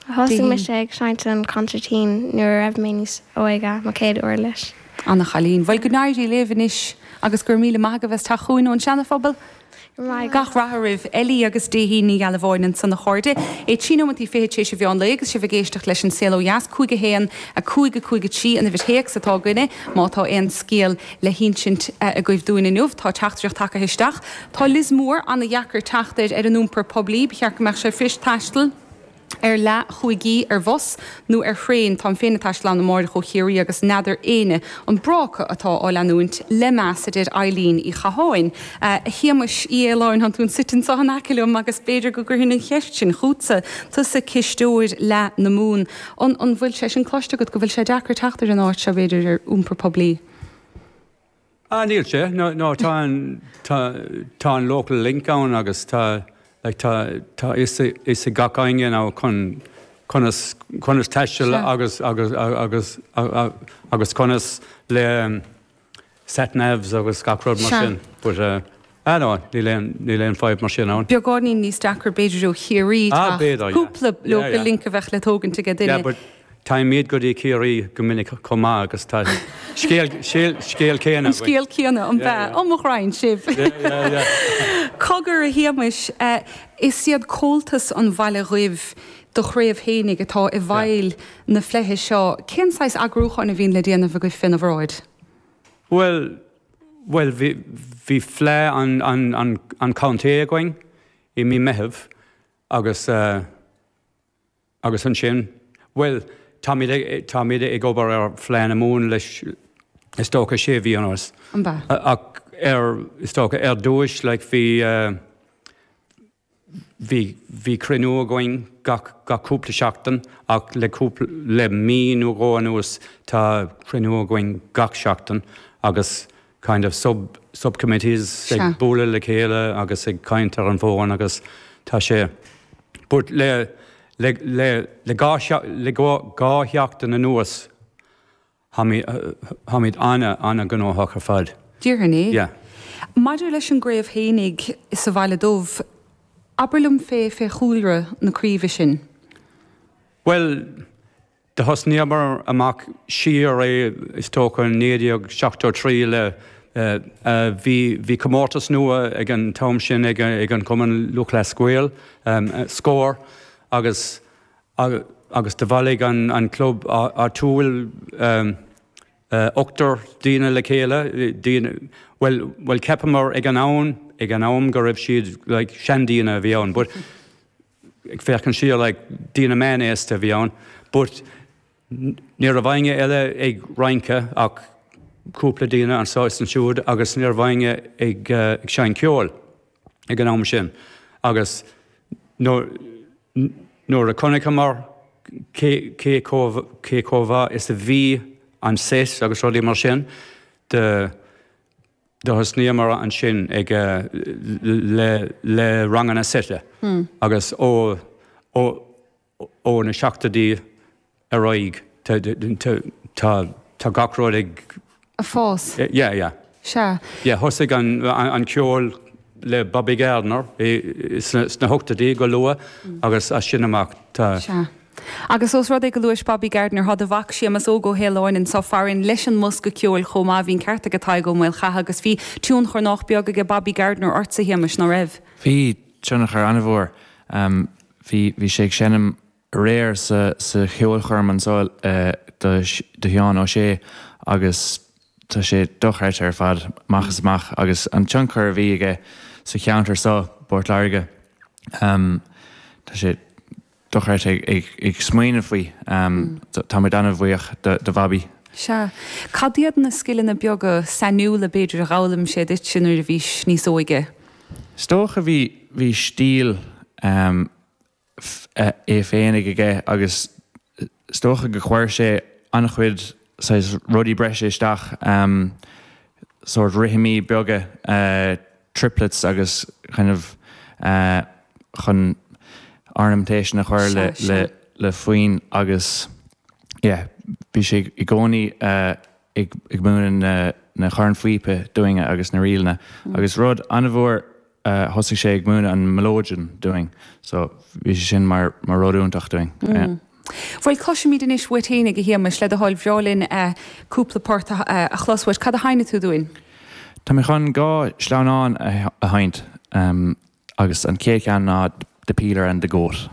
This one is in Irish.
Thosaigh mise ag seinnt an consairtín nuair a raibh mé níos óige, mo chéad uirlis. Ana chailín. Bhuel, go n-éirí libh anois agus go raibh míle maith agaibh as teacht chugainn ón Seana-Phobal. Go raibh maith agat. Gach rath oraibh. Ellie agus Déithín Ní Ghealbháin ansan a chairde. É 3 nóimeantaí fichead tar éis an mheán lae agus sibh ag éisteacht leis An Saol Ó Dheas. 5 1 5 5 3 an uimhir théacs atá againne má tá aon scéal le hinsint agaibh dúinn inniu. Tá teachtaireacht tagtha isteach. Tá Lios Mór ana-dheacair teacht air ar an iompar poiblí. Ba cheart go mbeadh sé fuirist taisteal ar leath chúig ar bhus nó ar thraein. Táim féin ag taisteal ann amáireach ó Chiarraí agus n'fheadar éinne an bráca atá á leanúint. Le meas, a deir Eileen Uí Chatháin. A Shéamais Uí Fhaoláin, tánn tú suite anseo in aice liom agus b'fhéidir go gcuirfinn an cheist sin chútsa, tusa cisteoir Fhleadh na Mumhan. An an bhfuil sé sin cloiste agat go bhfuil sé deacair teacht ar an áit seo b'fhéidir ar iompar poiblí? Ah níl sé, no no tá an tá tá an local link ann agus tá like tá tá fhios fhios ag gach éinne now chun conas conas taisteal agus agus agus agus conas le sat navs agus gach rud mar sin but eh ah no níl aon níl aon fadhb mar sin ann. Beagáinín níos deacra b'fhéidir ó Chiarraí Ah b'fhéidir yeah. Cúpla local link a bheadh le tógaint aige duine. Yeah but Téimid go dtí Ciarraí go minic chomh maith agus tá scéal, scéal céanna An scéal céanna, an ea? Ó mo ghraidhin sibh! Cogar, a Shéamais, is iad Comhaltas an Bhaile Dhuibh do chraobh fhéinig atá i bhfeighil na fleidhe seo. Cén saghas eagrúcháin a bhíonn le déanamh agaibh féna bhráid? Bhuel, bhuel, bhí, bhí fleadh an, an, an, an chontae againn i mí Meitheamh agus eh, Agus ansin, bhuel, táimid ag, táimid ag obair ar Fleadh na Mumhan leis, is dócha, sé mhí anuas. An ea? Ach ar, is dócha, ar dtúis, like, bhí, bhí, bhí cruinniú againn gach, gach cúpla seachtain ach le cúpla, le mí nó dhó anuas tá cruinniú againn gach seachtain agus kind of sub, subcommittees ag bualadh le chéile agus ag caint ar an bhfón agus tá sé, but le, le, le, le dhá, le dhá sheachtain anuas táimid, táimid ana, ana-ghnóthach ar fad. Déarfainn é. Yeah. Maidir leis an gcraobh fhéinig sa Bhaile Dubh, abair liom fé, fé chúlra na craoibhe sin. Bhuel, Do thosnaíomar amach siar é is dócha in 1973 le bhí bhí comórtas nua ag an t-am sin ag ag an Chumann Lúthchleas Gael, Scór, agus agus do bhailigh an an club áitiúil ochtar daoine le chéile, daoine, bhuel bhuel cheapamar ag an am ag an am go raibh siad like seandaoine a bhí ann but ag féachaint siar like daoine meánaosta a bhí ann but ní raibh éinne eile ag rince ach cúpla daoine anseo is ansiúd agus ní raibh éinne ag ag seinnt ceoil ag an am sin agus nuair nuair a chonaiceamar cé cé chomh cé chomh mhaith is a bhí an set agus rudaí mar sin do Do thosnaíomar ansin ag le le ranganna seite agus ó ó ó na seachtóidí ar aghaidh tá tá tá gach rud ag Ag fás. Yeah, yeah. Sea. Yeah, thosaigh an an ceol le Bobby Gardiner i sna sna hochtóidí go luath agus as sin amach tá. Sea. Agus ós rud é go luais Bobby Gardiner, tá do mhac Séamus Óg Ó hAoláin anseo farainn leis an mbosca ceoil chomh maith. Bhí an ceart aige Tadhg Ó Maolchatha agus bhí tionchar nách beag aige Bobby Gardiner ortsa, a Shéamais, ná raibh? Bhí tionchar an-mhór. Bhí, bhí sé ag seinm aréir sa, sa cheolchoirm anseo do, do Sheán Ó Sé agus tá sé dochreidte ar fad, amach is amach agus an tionchar a bhí aige sa cheantar seo, bPort Láirge, tá sé dochreidte ag smaoineamh faoi. Tá muid an-bhuíoch do Bhobby. Sea. Cad iad na scileanna beaga sainiúla, b'fhéidir, a d'fhoghlaim sé duitse nuair a bhís níos óige? Is dócha bhí, bhí stíl é féinig aige agus is dócha go chuir sé an-chuid saghas rudaí breise isteach, sórt rithimí beaga, triplets agus kind of chun ornamentation a chur le le le foinn agus yeah bhí sé i gcónaí ag ag múineadh na na cornphíopa dúinne agus na ríleanna agus rud an-mhór. thosaigh sé ag múineadh an mileoidean dúinn so bhí sé sin mar mar rud iontach dúinn. Yeah. Bhuel, cloisfimid anois uait fhéinig, a Shéamais, le do thoil. Bhreá linn cúpla port a chlos uait. Cad a sheinnfidh tú dúinn? Tá mé chun dhá sleamhnán a sheinnt agus an chéad cheann ná The Peeler and the Goat.